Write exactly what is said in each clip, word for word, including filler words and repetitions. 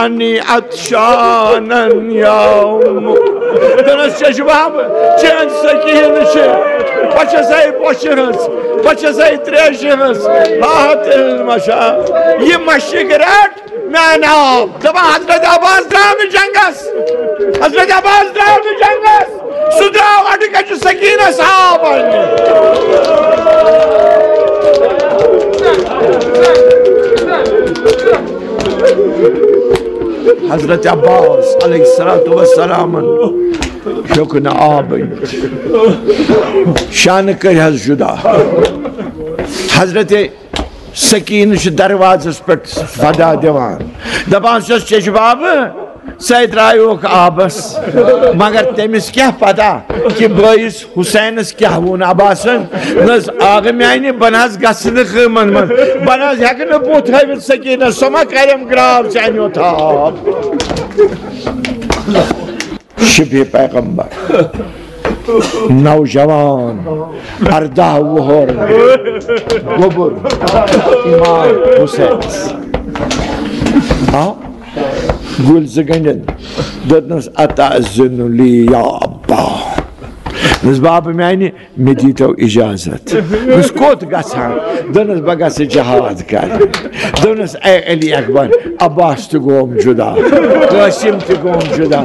انی عطشانن یوم۔ دوٚپنس، چشمہ بہٕ چٲنۍ سکیٖنہٕ چھِ، بہٕ چھسے پوشہِ ہٕنٛز، بہٕ چھسے تریشہِ ہٕنٛز، ہاہت علم چھا۔ یہِ مشک رٹ میانہِ آب۔ دپان، حضرت عباس درٛاو نہٕ جنگس، حضرت عباس درٛاو نہٕ جنگس، سُہ درٛاو اڈٕ کجہِ سکیٖنس آب اننہِ۔ حضرت عباس علیہ الصلوۃ والسلامن ہیوٚک نہٕ آب أنِتھ۔ شانہٕ کٔرۍ حظ جدا۔ حضرت سکیٖنہٕ چھِ دروازس پٮ۪ٹھ صدا دِوان، دپان چھس، چشمہ بہٕ، ژے درٛایوکھ آبس، مگر تٔمِس کیٛاہ پتہ کہِ بٲیِس حسینس کیٛاہ ووٚن عباسن؟ نہ حظ، آغہٕ میانہِ، بہٕ نہ حظ گژھٕ نہٕ کٲمن منٛز، بہٕ نہ حظ ہٮ۪کہٕ نہٕ بُتھ ہٲوِتھ سکیٖنس، سۄ ما کرٮ۪م گراو چانیو تھاو۔ شبہ پیغمبر، نوجوان، اردہ وُہُر، گوٚبُر، امام حسینس آو گُلۍ زٕ گنٛڈِتھ، دوٚپنس، اتعذن لی یا ابا؟ دوٚپنس، بابہٕ میانہِ، مےٚ دیٖتو اجازت۔ دوٚپنس، کوٚت گژھان؟ دوٚپنس، بہٕ گژھٕ جہاد کرنہِ۔ دوٚپنس، اے علی اکبر، عباس تہِ گوم جدا، قاسم تہِ گوم جدا،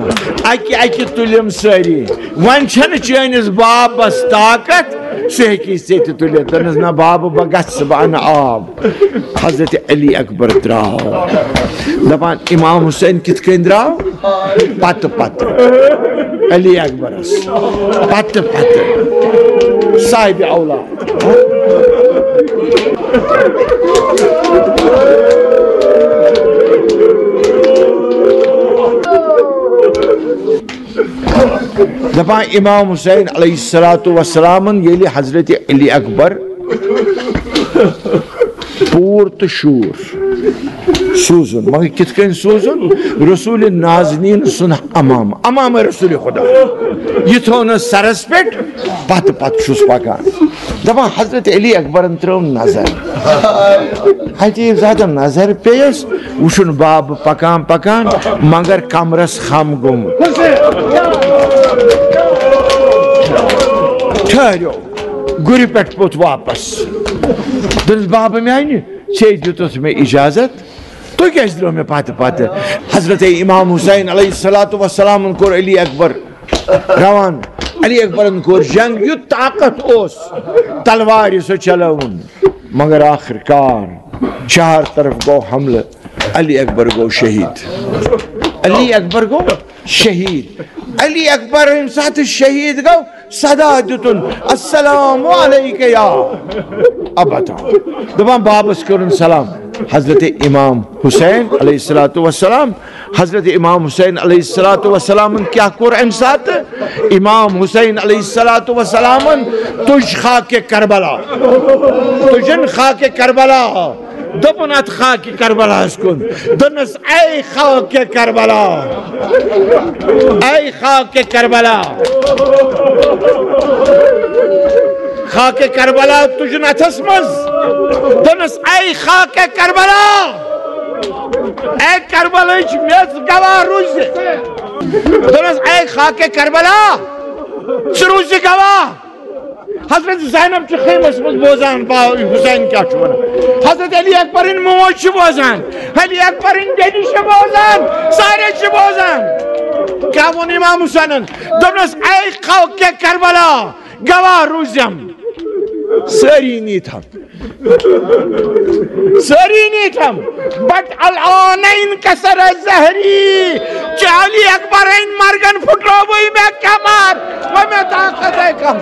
اکہِ اکہِ تُلِم سٲری۔ وۄنۍ چھنہٕ چٲنِس بابس طاقت، سُہ ہیٚکی ژےٚ تہِ تُلِتھ۔ دوٚپنس، نہ بابہٕ، بہٕ گژھٕ، بہٕ انہٕ آب۔ حضرت علی اکبر درٛاو۔ دپان، امام حسین کِتھ کٔنۍ درٛاو؟ پتہٕ پتہٕ۔ علی اکبرس پتہٕ پتہٕ۔ صاحب اولاد۔ دپان، امام حسین علیہ الصلوۃ والسلامن ییٚلہِ حضرت علی اکبر پوٗر تہٕ شوٗر سوٗزُن، مگر کِتھ کٔنۍ سوٗزُن؟ رسول نازنین سُنٛد امام، امام رسول خدا، یہِ تھوٚونس سرس پٮ۪ٹھ، پتہٕ پتہٕ چھُس پکان۔ دپان، حضرت علی اکبرن ترٲو نظر، عجیب ذاتن نظر پیٚیس، وٕچھُن بابہٕ پکان پکان، مگر کمرس خم گوٚمُت۔ ٹھہریو، گُرِ پٮ۪ٹھ پوٚت واپس۔ دوٚپنس، بابہٕ میانہِ، ژےٚ دیُتُتھ مےٚ اجازت، تُہۍ کیٛازِ درٛٲو مےٚ پتہٕ پتہٕ؟ حضرت امام حسین علیہ الصلوۃ والسلامن کوٚر علی اکبر روان۔ علی اکبرن کوٚر جنگ، یُتھ طاقت اوس تلوارِ سُہ چلٲوُن، مگر آخر کار چار طرف گوٚو حملہٕ، علی اکبر گوٚو شہید۔ علی اکبر گوٚو شہید۔ علی اکبر ییٚمہِ ساتہٕ شہید گوٚو، صدا دیُتُن، السلام علیک یا ابتا۔ دپان، بابس کٔرٕن سلام۔ حضرت امام حسین علیہ الصلوۃ والسلام، حضرت امام حسین علیہ الصلوۃ والسلامن کیٛاہ کوٚر امہِ ساتہٕ؟ امام حسین علیہ الصلوۃ والسلامن تُج خاکِ کربلا، تُجن خاکِ کربلا۔ دوٚپُن اتھ خاکِ کربلاہس کُن، دوٚپنس، اے خاکِ کربلا، اے خاکِ کربلا، خاکِ کربلا تُجُن اتھس منٛز، دوٚپنس، اے خاکِ کربلا، اے کربلٕچ میٚژ گواہ روٗزِ۔ دوٚپنس، اے خاکِ کربلا، ژٕ روٗزِ گواہ۔ حضرت زینب چھِ خیمس منٛز بوزان، با-، حسین کیٛاہ چھُ ونان۔ حضرت علی اکبرٕنۍ موج چھِ بوزان، علی اکبرٕنۍ بیٚنہِ چھِ بوزان، سارے چھِ بوزان۔ کیٛاہ ووٚن امام حسینن؟ دوٚپنس، اے خاکِ کربلا، گواہ روٗزِم۔ سٲری نیٖتھم، سٲری نیٖتھم۔ بٹ الآن انکسر ظہری، چہ علی اکبرٕنۍ مرگن پھُٹرووٕے مےٚ کمر، وۄنۍ مےٚ طاقت ہے کم۔